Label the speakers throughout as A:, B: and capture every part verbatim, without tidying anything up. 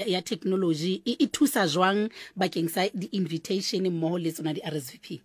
A: ya technology e, e thusa jwang bakeng sa di-invitation mmoho le tsona di-R S V P?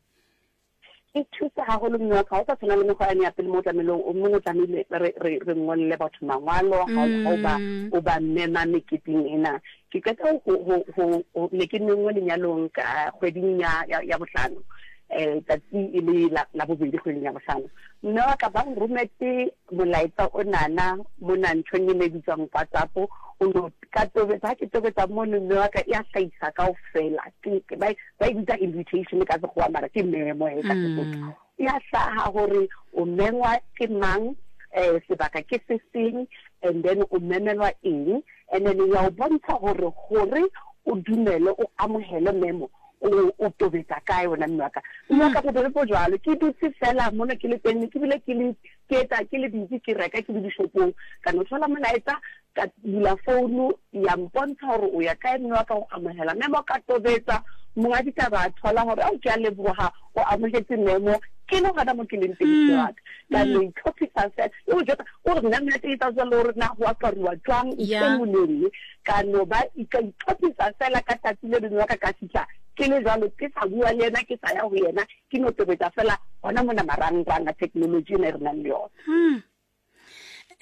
B: E thusa haholo, mme wa ka. Ha o sa tshwana le mekgwa yane ya pele, mo o tlamehile o mong o tlamehile re re re ngolle batho mangwalo ha o ha o ba
A: mm.
B: o ba mema meketeng ena. Ke qeta ho ho ho ho ne ke menngwe lenyalong ka kgweding ya ya, ya bohlano, eh tsatsi e le la, la bobedi kgweding ya bohlano. Mme wa ka, ba nrometse molaetsa o nana mona nthong e ne bitswang WhatsApp. O no ka tobetsa, ha ke tobetsa mono, mme wa ka, e a hlahisa kaofela. Ke ba ba e bitsa invitation ka Sekgowa, mara ke memo e ka Sesotho.
A: Mm.
B: Ya hlaha hore o mengwa ke mang, eh sebaka ke se seng, and then o memelwa eng, and then ya o bontsha hore hore o dumele, o amohele memo, o o tobetsa kae wena, mme wa ka. Mme wa ka, bobebe bo jwalo. Ke dutse fela mona ke le teng, ke bile ke le ke etsa ke le busy, ke reka, ke le dishopong, ka no thola molaetsa, ka bula founu, ya mpontsha hore o ya kae, mme wa ka, o amohela memo. Ka tobetsa, monga ditaba a thola hore ao, ke a leboha, o amohetse memo. Ke le hona mo ke leng teng, mme wa ka, ka no itlhophisa fela e o jwetsa o re nna monate e tsa jwalo hore na ho aparuwa jwang, ntho
A: Ya.
B: e nngwe le e nngwe. Ka no ba ka itlhophisa fela ka tsatsi le lengwe wa ka, ka fihla ke le jwalo, ke sa bua le yena, ke sa ya ho yena, ke no tobetsa fela hona mona marangrang a technology ena e re nang le yona.
A: Hmm.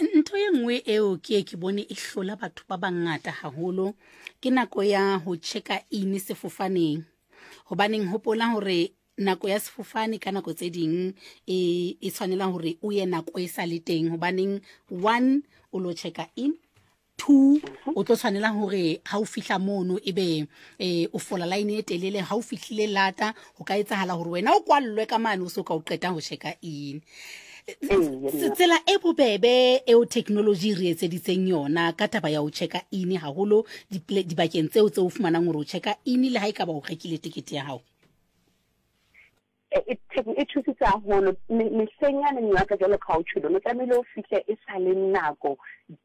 A: Ntho e nngwe eo ke e ke bone e hlola batho ba bangata haholo ke nako ya ho checka in sefofaneng. Hobaneng, hopola hore nako ya sefofane ka nako tse ding e e tshwanela hore o ye nako e sa le teng. Hobaneng? One, o lo checka in. Two, o tlo tshwanela hore ha o fihla mono ebe eh, o fola line e telele. Ha o fihlile lata, ho ka etsahala hore wena o kwallwe ka mane o so ka o qeta ho checka in.
B: Ee.
A: Tsela e bobebe eo technology re etseditseng yona ka taba ya ho checka in haholo diple- dibakeng tseo tse o fumanang hore o checka in le ha e ka ba o rekile tekete ya hao.
B: e e e thusitse haholo. Me- mehleng yane, mme wa ka, jwalo ka ha o tjholo, no tlamehile o fihle e sa le nako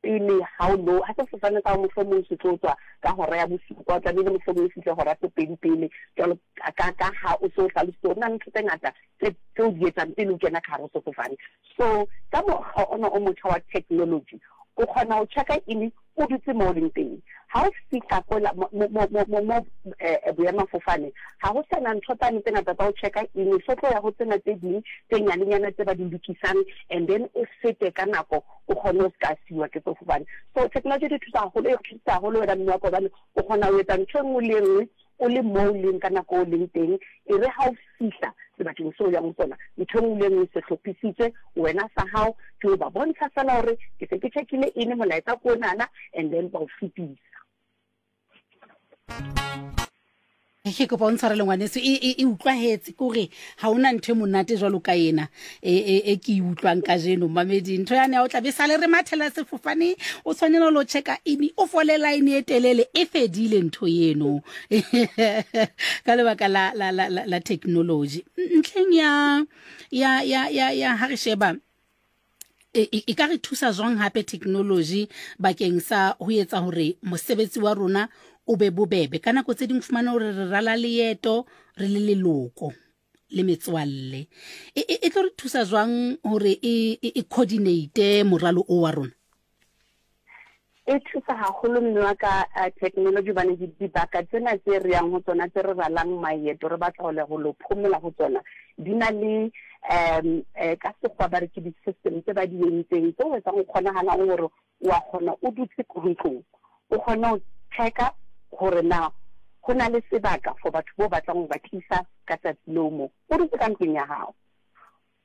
B: pele ha o lo ha sefofane sa hao mohlomong se tlo tswa ka hora ya bosupa, o tlamehile mohlomong o fihle hora tse pedi pele, jwalo ka ka ka ha o so hlalositse hore na le ntho tse ngata tse tse o di etsang pele o kena ka hare ho sefofane. So ka mokgwa ona o motjha wa technology, o kgona ho checka in o dutse mo o leng teng. Ha o fihla kola mo mo mo mo mo eh, boemafofane, ha ho sana ntho tsane tse ngata tsa ho checka in. So tlo ya ho tsena tse ding tse nyanenyana tse ba di lokisang, and then o fete ka nako, o kgone ho ska siwa ke sefofane. So technology di thusa haholo, e thusa haholo wena, mme wa ka, hobane o kgona ho etsa ntho e nngwe le e nngwe o le mo o leng ka nako o leng teng. E re ha o fihla sebakeng seo o yang ho sona, ntho e nngwe le e nngwe e se hlophisitswe. Wena sa hao ke o ba bontsha fela hore ke se ke checkile in, molaetsa ko onana, and then ba o fetisa.
A: Ke kopa o ntshwarele, ngwaneso, e e- e utlwahetse ke hore ha hona ntho e monate jwalo ka ena e e e ke e utlwang kajeno. Mamedi, ntho yane ya o tla be sale re mathela sefofane, o tshwanela ho lo checka in, o fole line e telele, e fedile ntho eno ka lebaka la la la la, la technology. Ntlheng ya ya ya ya ya ha re sheba e e- e ka re thusa jwang hape technology bakeng sa ho etsa hore mosebetsi wa rona o be bobebe? Ka nako tse ding fumana hore re rala leeto re le leloko le metswalle, e e- e tlo re thusa jwang hore e e e coordinate moralo o wa rona?
B: E thusa haholo, mme wa ka, eh, technology, hobane di- dibaka tsena tse re yang ho tsona, tse re ralang maeto, re batla ho le ho lo phomola ho tsona, di na le um eh, ka Sekgowa ba re ke di-system tse ba di entseng tse o etsang o kgonagalang hore wa kgona o dutse ntlong, o kgone ho checka hore na ho na le sebaka for batho bo batlang ho ba tlisa ka tsatsi leo moo o dutse ka ntlong ya hao.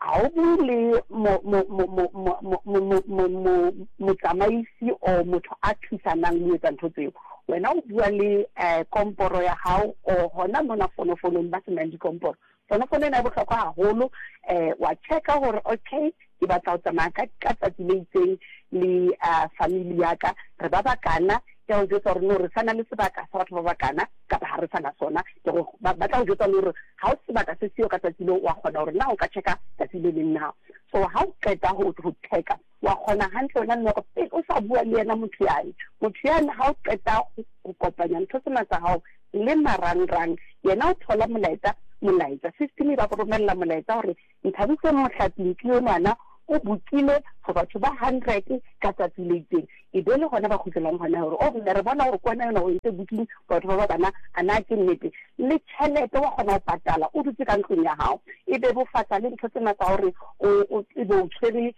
B: Ha o bue le mo- mo- mo- mo- mo- mo- mo- mo- mo- mo- motsamaisi or motho a thusanang le ho etsa ntho tseo. Wena o bua le um komporo ya hao or hona mona fonofonong ba senang dikomporo. Fonofono ena e bohlokwa haholo. um wa checka hore okay, ke batla ho tsamaya ka ka tsatsi le itseng le uh, family ya ka, re ba bakana. Ke a o jwetsa hore no, re sana le sebaka sa batho ba bakana kapa ha re sana sona. Ke go ba ba tla o jwetsa le hore ha o sebaka se siyo ka tsatsi leo, wa kgona hore na o ka checka tsatsi le leng na. So ha o qeta ho ho checka, wa kgona hantle wena, mme pele o sa bua le yena motho yane motho yane ha o qeta ho ho kopanya ntho tsena tsa hao le marangrang, yena o thola molaetsa molaetsa system e ba go romella molaetsa hore Nthabiseng Mohlaping ke yonana o bookile for batho ba hundred ka tsatsi le itseng, e be le gona ba kgutlelang gona gore o mme re bona gore kwana yona o entse booking batho ba ba bana, a na ke nnete. Le tšhelete wa kgona ho patala o dutse ka ntlong ya hao, e bebofatsa le ntho tsena tsa hore o ebe o tshwere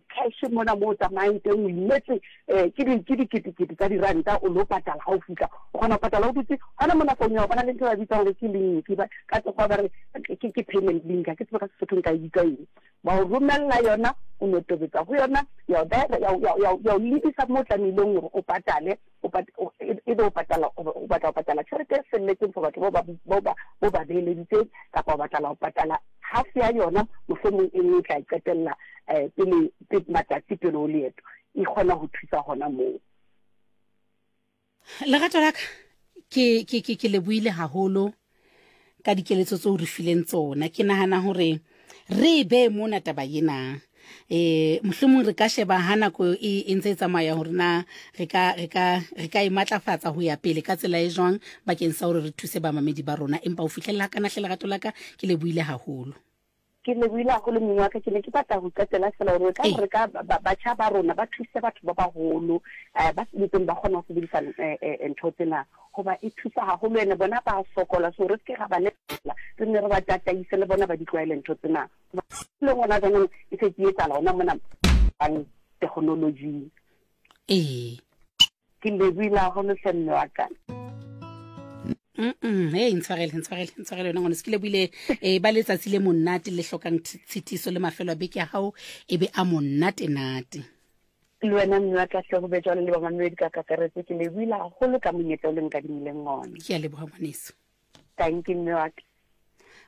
B: cash mona mo o tsamayang teng, o imetse ke diketekete tsa diranta o lo patala. Ha o fihla o kgona ho patala o dutse hona mona founung ya hao. Ba na le ntho ba bitsang hore ke link, ka sekgowa ba re ke payment link, ha ke tsebe ka Sesotho nka e bitsa eng. Ba o romella yona, o no tobetsa ho yona, ya o lebisa mo tlamehileng hore o patale, ebe o patala, o batla ho patala tjhelete e felletseng for batho bao ba ba beeleditseng, kapa o batla ho patala half ya yona, mohlomong e nngwe o tla e qetella pele matsatsi pele ho leeto. E kgona ho thusa hona moo.
A: Lerato la ka, ke ke ke ke lebohile haholo ka dikeletso tseo re fileng tsona. Ke nahana hore re be mona taba ena, eh mohlomong re ka sheba ha nako e ntse e tsamaya hore na re ka re ka re ka e matlafatsa ho ya pele ka tsela e jwang bakeng sa hore re thuse bamamedi ba rona. Empa ho fihlella ka nahle, lerato la ka, ke lebohile haholo.
B: Ke lebohile haholo, mme wa ka. Ke ne ke batla ho qetela fela hore ka re ka batjha ba rona ba thuse batho ba baholo ba ntseng ba kgona ho sebedisa ntho tsena, hoba e thusa haholo. Ene bona ba sokola, so re se ke ra ba lebala, re nne re ba tataise le bona ba di tlwaele ntho tsena. Le gona jaanong e se ke etsahala hona mona technology.
A: Ee,
B: ke lebohile haholo hle, mme wa ka.
A: Mm hey, ntshwarele, ntshwarele, ntshwarele yona ngwane. Se ke lebohile. eh ba letsatsi le monate le hlokang tshitiso, le mafelo a beke ya hao e be a monate nate.
B: Le wena, mme wa ka hle, ho be jwalo le bamamedi ka kakaretso. Ke lebohile haholo ka monyetla o le nkadimileng ona.
A: Ke a leboha, ngwaneso.
B: Thank you, mme wa ka.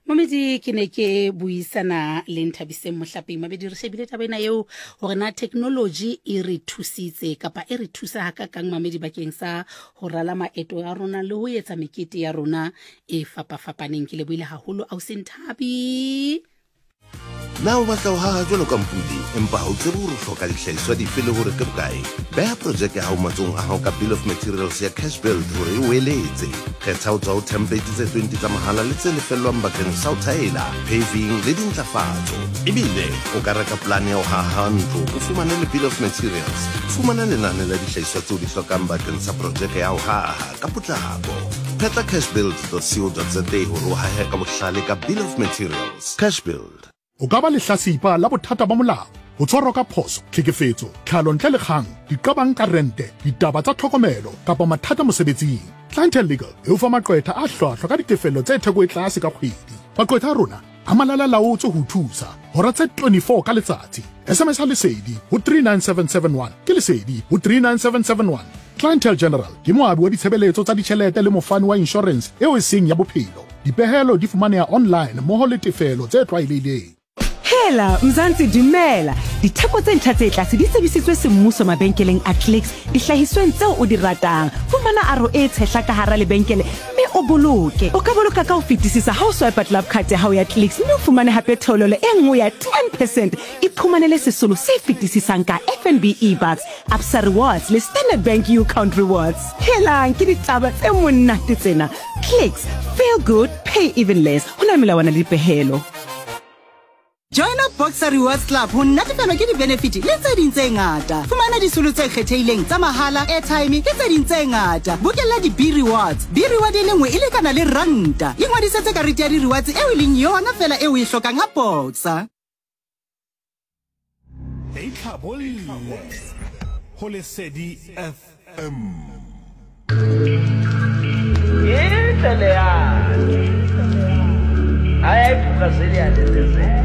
A: Mamedi, ke ne ke buisana le Nthabiseng Mohlapeng. Mabedi, re shebile taba ena eo hore na technology e re thusitse kapa e re thusa hakakang, mamedi, bakeng sa ho rala maeto a rona le ho etsa mekete ya rona e fapafapaneng. Ke lebohile haholo, ausi Nthabi.
C: Na o batla ho haha jwalo ka Mpudi, empa ha o tsebe hore o hloka dihlahiswa dife le hore ke bokae? Beha projeke ya hao matsohong a hao ka bill of materials ya Cash Build hore e o eletse. Kgetha ho tswa ho template tse twenty tsa mahala le tse lefellwang bakeng sa ho thaela, paving le dintlafatso. Ebile o ka reka polane ya ho haha ntlo, o fumane le bill of materials. Fumana lenane la dihlahiswa tseo di hlokang bakeng sa projeke ya ho haha ka potlako. Phetla cashbuild dot co dot za hore o hahe ka bohlale ka bill of materials. Cash Build.
D: O ka ba lehlasipa la bothata ba molao, ho tshwarwa ka phoso, tlhekefetso, tlhalo ntle le kgang, diqabang ka rente, ditaba tsa tlhokomelo kapa mathata mosebetsing. Clientele Legal e o fa maqwetha a hlwahlwa ka ditefello tse theko e tlase ka kgwedi. Maqwetha a rona a malala laotswe ho thusa hora tse twenty-four ka letsatsi. S M S Lesedi ho three nine seven seven one, ke Lesedi ho three nine seven seven one. Clientele General ke moabi wa ditshebeletso tsa ditjhelete le mofani wa insurance eo e seng ya bophelo. Dipehelo di fumaneha online mmoho le tefelo tse tlwaelehileng.
E: Hela Mzansi, dumela. Ditheko tse ntjha tse tlase di tsebisitswe semmuso mabenkeleng a Clicks dihlahisweng tseo o di ratang. Fumana aro e tshehla ka hara lebenkele mme o boloke. O ka boloka ka ho fetisisa ha o swipe Club Card ya hao ya Clicks mme o fumane hape theolelo e nngwe ya ten percent. Iphumanele sesolo se fetisisang ka F N B eBucks, Absa Rewards le Standard Bank U-Count Rewards. Helang, ke ditaba tse monate tsena. Clicks, feel good, pay even less. Ho na melawana le dipehelo.
F: Joina Boxer Rewards Club ho natefelwa ke di-benefit le tse ding tse ngata. Fumana disolo tse kgethehileng tsa mahala, airtime le tse ding tse ngata. Bokella di-B rewards. B reward e le nngwe e lekana le ranta. Ingwadisetse karete ya di-rewards eo e leng yona fela eo o e hlokang ha Boxer.
G: E itlhabolle ho Lesedi F M.
H: Inhle leyana, hayi, ayibhuqazeli yalelezela.